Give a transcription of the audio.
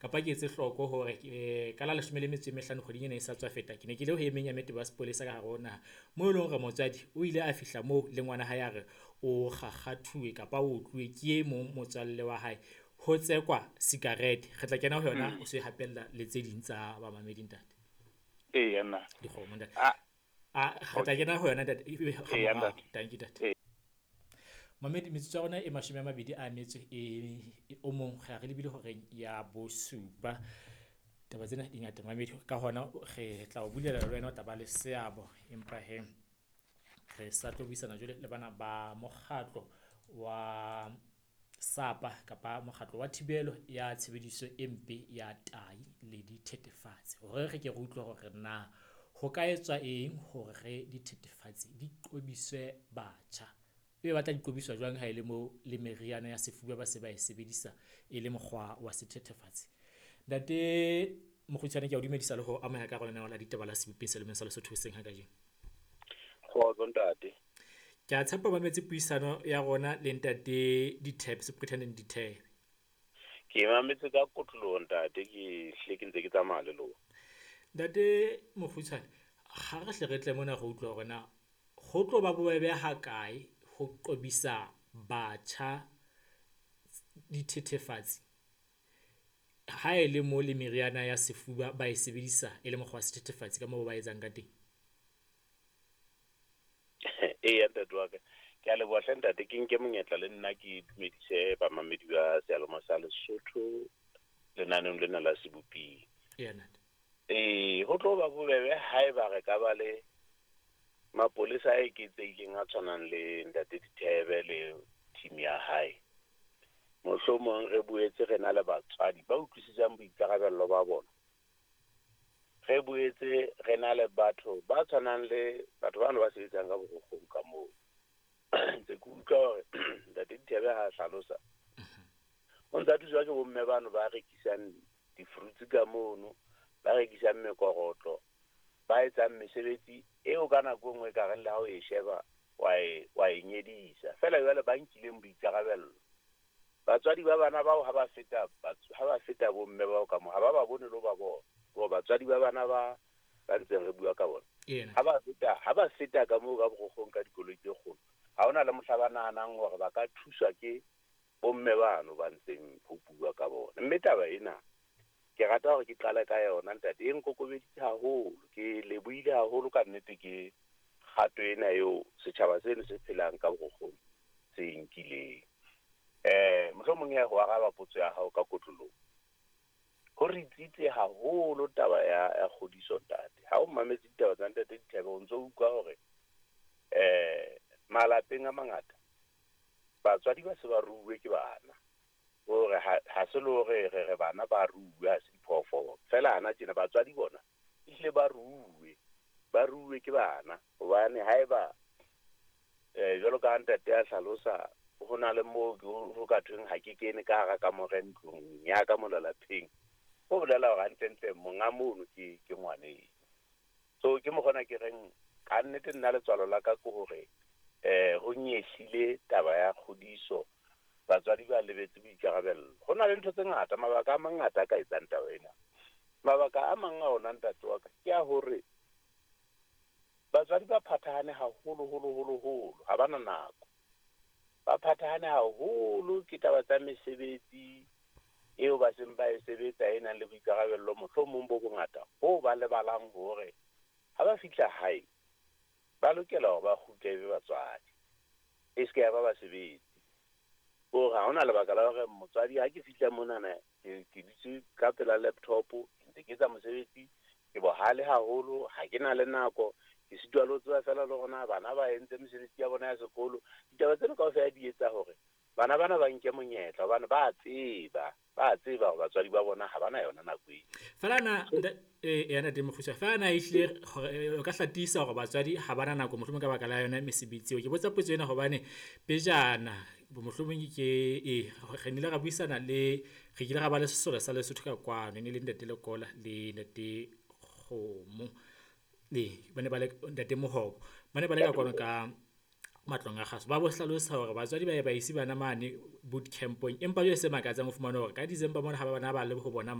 Kapa ke etse hloko hore ka la 15 kgweding ena e sa tswa feta, ke ne ke le ho e meng ya metebo ya sepolesa ka hare ho naha, moo e leng hore motswadi o ile a fihla moo le ngwana hae a re o kgakgathuwe kapa o otluwe ke e mong motswalle wa hae, ho tsekwa sikarete. Re tla kena ho yona o se hapella le tse ding tsa bamamedi ntate. Eya nna. Dikgomo ntate. Ah. A re tla kena ho yona ntate. Eya, ntate. Thank you ntate. Mamedi, metsotso ya rona e 20 e o mong re re lebile horeng ya 7. Taba tsena di ngata mamedi, ka hona re tla o bulela le wena o tla ba le seabo, empa he re sa tlo buisana jwale le bana ba mokgatlo wa SAPA kapa mokgatlo wa thibelo ya tshebediso e mpe ya tai le dithethefatsi, hore re ke re utlwe hore na ho ka etswa eng hore dithethefatsi di qobiswe batjha. Ebe ba tla di qobiswa jwang ha e le mo le meriana ya sefuba ba se ba e sebedisa e le mokgwa wa sethethefatsi. Ntate Mokgutshwane, ke a o dumedisa le ho amohela ka hara lenaneo la ditaba la Sebopeng se Lemeng sa Lesotho hoseng ha kajeno. Kgotso ntate. Ke a tshepa ba mametse puisano ya rona le ntate Dithebe, Superintendent Dithebe. Ke mametse ka kotloloho ntate, ke hle ke ntse ke tsamaya le lona. Ntate Mokgutshwane, ha re hle re tle mona re utlwe hore na ho tlo ba bobebe ha kae ho qobisa batjha dithethefatsi ha e le mo le meriana ya sefuba ba e sebedisa e le mokgwa wa sethethefatsi ka moo ba etsang ka teng? Eya ntate wa ka, ke a leboha hle ntate, ke nke monyetla le nna ke dumedise bamamedi ba seyalemoya sa Lesotho lenaneong lena la Seboping. Eya ntate. Ho tlo ba bobebe haeba re ka ba le mapolesa a eketsehileng a tshwanang le ntate Dithebe le team ya hae. Mohlomong re boetse re na le batswadi ba utlwisisang boikarabello ba bona. Re boetse re na le batho ba tshwanang le batho bano ba sebetsang ka borokgong ka moo. Ntse ke utlwa hore ntate Dithebe ha a hlalosa, o ntse a thuswa ke bomme bano ba rekisang di-fruits ka mono, ba rekisang mekorotlo, ba etsang mesebetsi eo ka nako e nngwe e ka reng le ha o e sheba wa e nyedisa. Feela jwale ba nkileng boikarabello. Batswadi ba bana bao ha ba feta ha ba feta bomme bao ka moo, ha ba ba bone le ho ba bona. Hore batswadi ba bana ba ntseng re bua ka bona. Ha ba feta ka moo ka borokgong ka dikoloi tse kgolo, ha hona le mohla ba nahanang hore ba ka thuswa ke bomme bano ba ntseng ho bua ka bona. Mme taba ena ke rata hore ke qale ka yona ntate, e nkokobeditse haholo, ke lebohile haholo ka nnete ke kgato ena eo setjhaba seno se phelang ka borokgong se nkileng. Mohlomong ya ho araba potso ya hao ka kotloloho, ho re tsitse haholo taba ya kgodiso ntate. Ha o mametse ditaba tsa ntate Dithebe, o ntso utlwa hore malapeng a mangata batswadi ba se ba ruuwe ke bana. Hore ha se le hore re bana ba ruuwe, ha se diphoofolo. Feela hana tjena batswadi bona ehlile ba ruuwe ke bana. Hobane haeba jwalo ka ntate a hlalosa, ho na le moo ho ka thweng ha ke kene ka hara kamore ntlong ya ka mona lapeng, ho bolela hore hantlentle monga mono ke ngwaneno. So ke mokgona ke reng ka nnete nna letswalo la ka ke hore ho nyehlile taba ya kgodiso, batswadi ba lebetse boikarabello. Ho na le ntho tse ngata, mabaka a mangata a ka etsang taba ena. Mabaka a mang a ona ntate wa ka ke a hore batswadi ba phathahane haholo holo holo holo, ha bana nako. Ba phathahane haholo ke taba tsa mesebetsi eo ba seng ba e sebetsa e nang le boikarabello mohlomong bo bongata, hoo ba lebalang hore ha ba fihla hae ba lokela hore ba kgutle ebe batswadi, e se ke ya ba basebetsi. Hore ha hona lebaka la hore motswadi ha ke fihla monana ke dutse ka pela laptop, ntse ke etsa mosebetsi, ke bohale haholo, ha ke na le nako, ke sitwa le ho tseba feela le hore na bana ba entse mesebetsi ya bona ya sekolo. Ditaba tsena kaofela di etsa hore bana bana ba nke monyetla, hobane ba tseba hore batswadi ba bona ha bana yona nako eo. Feela na ya ntate Mokgutshwane, feela na ehlile o ka hlatisa hore batswadi ha bana nako mohlomong ka baka la yona mesebetsi eo. Ke botsa potso ena hobane pejana mohlomong ke re nnile ra buisana le re kile ra ba le sesole sa Lesotho ka kwano, e ne le ntate Lekola le ntate Kgomo. Ba ne ba le ntate Mohobo, ba ne ba le ka kwano ka matlong a kgaso. Ba bo hlalosa hore batswadi ba ye ba ise bana mane boot campong, empa jwale se makatsang ho fumana hore ka December mona ha bana ba le ho bona